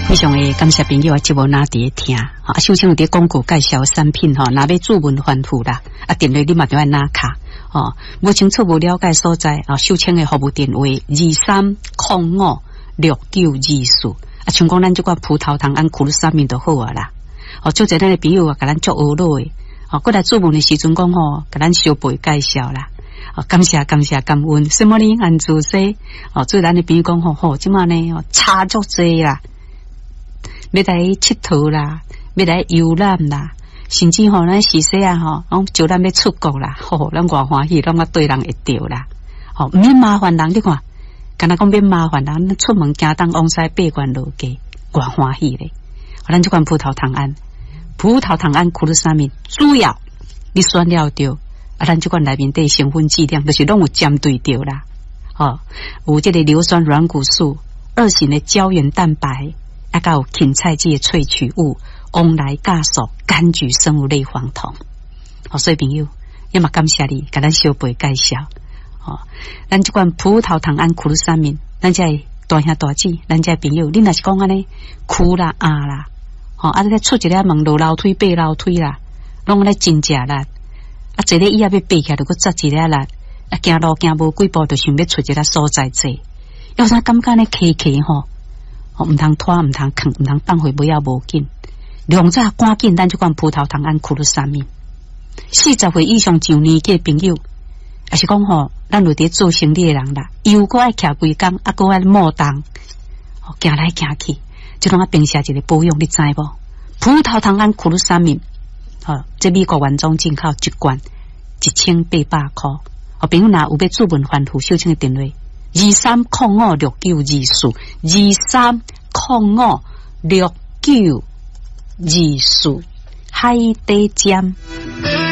非常的感謝朋友啊，節目若佇咧聽，啊，秀清有佇廣告介紹產品吼，若欲注文繁複啦，啊，電話你嘛著愛拿卡，吼，無清楚無了解所在啊，秀清的服務電話23056924，啊，像講咱這款葡萄糖胺苦魯沙明就好啊啦，哦，足濟咱的朋友啊，共咱足呵咾的，哦，過來注文的時陣講吼，共咱相陪介紹啦。哦，感謝感謝感恩，什麼呢？按做說，哦，做咱的朋友講吼吼，這馬呢差足濟啦。欲來𨑨迌啦，欲來遊覽啦，甚至吼，咱時勢啊吼，攏招咱欲出國啦，吼，咱偌歡喜，攏啊對人會著啦，吼，毋免麻煩人，你看，敢若講免麻煩人，出門行東往西八關落街，偌歡喜咧。咱這款葡萄糖胺，葡萄糖胺苦魯沙明，主要你選了著，啊，咱這款內面底成分劑量，就是攏有針對著啦，吼，有這个硫酸軟骨素、二型的膠原蛋白。啊，佮有芹菜籽的萃取物、王來酵素、柑橘生物類黃酮。哦，所以朋友，也嘛感謝你，共咱小輩介紹。哦，咱這款葡萄糖胺苦魯沙明，咱這大兄大姊，咱這朋友，你若是講按呢，跍啦壓啦，吼，啊，你出一个門落樓梯爬樓梯啦，攏按呢真食力。啊，坐咧椅仔欲爬起來，就閣扎一下力。啊，行路行無幾步，就想欲揣一个所在坐。有啥感覺呢？磕磕吼。毋通拖，毋通囥，毋通放予尾仔無緊。量早趕緊，咱這款葡萄糖胺苦魯沙明。40歲以上上年紀的朋友，抑是講吼，咱有佇做生理的人啦，又閣愛徛規工，啊，閣愛摩動，行來行去，這攏愛平時一个保養，你知無？葡萄糖胺苦魯沙明，吼，這美國原裝進口一罐1800箍。哦，朋友若有欲注文繁複，秀清的電話23056924，23056924，海底針。